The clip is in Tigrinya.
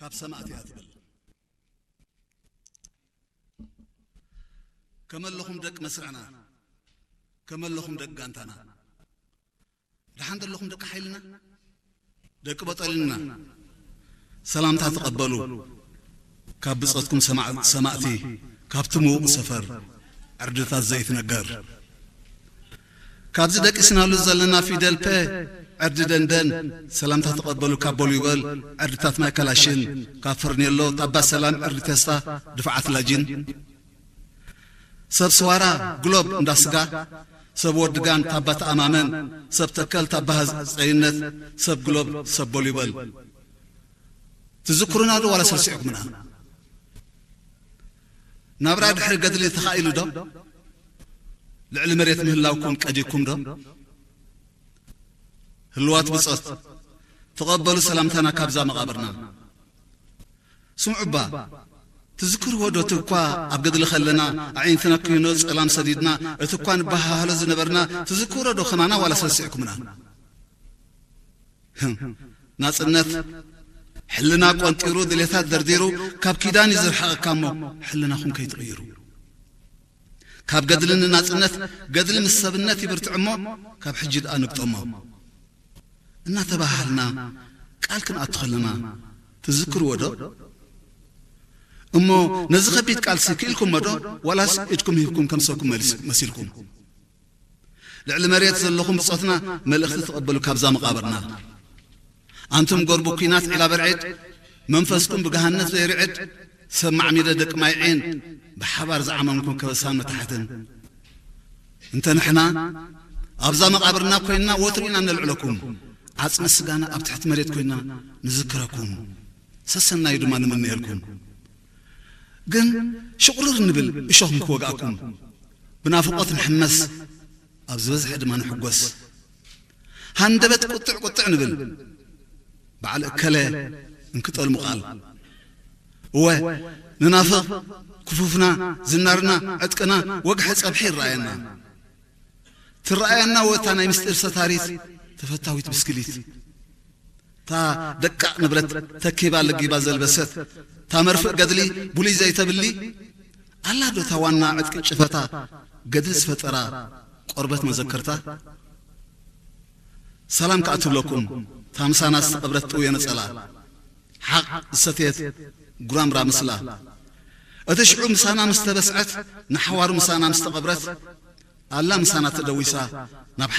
ኣብ ሰማእቲ እያ ትብል። ከመለኹም ደቂ መስርዕና፣ ከመለኹም ደቂ ጋንታና፣ ደሓን ዘለኹም ደቂ ሓይልና፣ ደቂ በጠልና፣ ሰላምታ ተቐበሉ። ካብ ብጾትኩም ሰማዕ-፣ ሰማእቲ፣ ካብቲ ምዉቕ ሰፈር፣ ዕርድታት ዘይትነገር። ካብዚ ደቂስናሉ ዘለና ፊደል ፐ፣ ዕርዲ ደንደን፣ ሰላምታ ተቐበሉ ካብ ቦሊበል፣ ዕርድታት ማይ ካላሽን፣ ካብ ፈርኔሎ፣ ታባ ሰላም፣ ዕርዲ ተስፋ፣ ድፋዓት ላጅን። ሰብ ስዋራ፣ ግሎብ እንዳ ስጋ፣ ሰብ ወዲ ጋን፣ ታባ ተኣማመን፣ ሰብ ተከል፣ ታባ ሃጸይነት፣ ሰብ ግሎብ፣ ሰብ ቦሊበል። ትዝክሩና ዶ ዋላ ሰልሲዕኩምና? ናብራ ድሕሪ ገድሊ ተኻኢሉ ዶ? ልዕሊ መሬት ምህላውኩም ቀዲኩም ዶ? ህልዋት ብጾት፣ ተቐበሉ ሰላምታና ካብዛ መቓብርና። ስምዑ እባ፣ ትዝክርዎ ዶ እቲ እኳ ኣብ ገድሊ ከለና ኣዒንትና ኩይኖ ጸላም ሰዲድና፣ እቲ እኳ ንበሃሃሎ ዝነበርና፣ ትዝክሮ ዶ ከማና ዋላ ሰልሲዕኩምና? ህም፣ ናጽነት ሕልና ቆንጢሩ፣ ድሌታት ደርዲሩ፣ ካብ ኪዳን እዩ ዝርሕቐካ እሞ፣ ሕልናኹም ከይትቕይሩ። ካብ ገድሊ ንናጽነት፣ ገድሊ ምስ ሰብነት ይብርትዕ እሞ፣ ካብ ሕጂ ደኣ ንግጠሞ። እናተባሃልና ቃል ክንኣቱ ከለና ትዝክርዎ ዶ? እሞ ነዚ ከቢድ ቃልሲ ክኢልኩሞ ዶ? ዋላስ ኢድኩም ሂብኩም ከም ሰብኩም መሊስ-፣ መሲልኩም? ልዕሊ መሬት ዘለኹም ብጾትና መልእኽቲ ተቐበሉ ካብዛ መቓብርና። ኣንቱም ጎርቡ ኲናት ዒላ በርዒድ፣ መንፈስኩም ብገሃነት ዘይርዕድ፣ ሰብ ማዕሚደ ደቂ ማይ ዒን፣ ብሓባር ዝዓመምኩም ከበሳን መታሕትን። እንተ ንሕና ኣብዛ መቓብርና ኮይንና ወትሩ ኢና ነልዕለኩም። ዓጽሚ ስጋና ኣብ ትሕቲ መሬት ኮይንና ንዝክረኩም። ሰሰናዩ ድማ ንምነየልኩም። ግን ሽቑርር ንብል እሾኽ ንክወግኣኩም። ብናፍቖት ንሕመስ፣ ኣብ ዝበዝሐ ድማ ንሕጎስ። ሃንደበት ቁጥዕ ቁጥዕ ንብል፣ በዓል እከለ እንክጠልሙ ቃል። እወ፣ ንናፍቕ፣ ክፉፍና፣ ዝናርና፣ ዕጥቅና፣ ወግሐ ጸብሒ ይረኣየና። ትረኣየና ወታ ናይ ምስጢር ሰታሪት፣ ተፈታዊት ብስክሊት። እታ ደቃቕ ንብረት ተኪባ ለጊባ ዘልበሰት፣ እታ መርፍእ ገድሊ ብሉይ ዘይተብሊ፣ ኣላ ዶ እታ ዋና ዕጥቂ ጭፈታ፣ ገድሊ ዝፈጠራ ቆርበት መዘከርታ? ሰላም ከኣ ትብለኩም፣ እታ ምሳና ዝተቐብረት ጥውየ ነጸላ፣ ሓቕ ዝሰትየት ጉራምራ ምስላ። እቲ ሽዑ ምሳና ምስ ተበስዐት፣ ንሓዋሩ ምሳና ምስ ተቐብረት፣ ኣላ ምሳና ተደዊሳ ናብ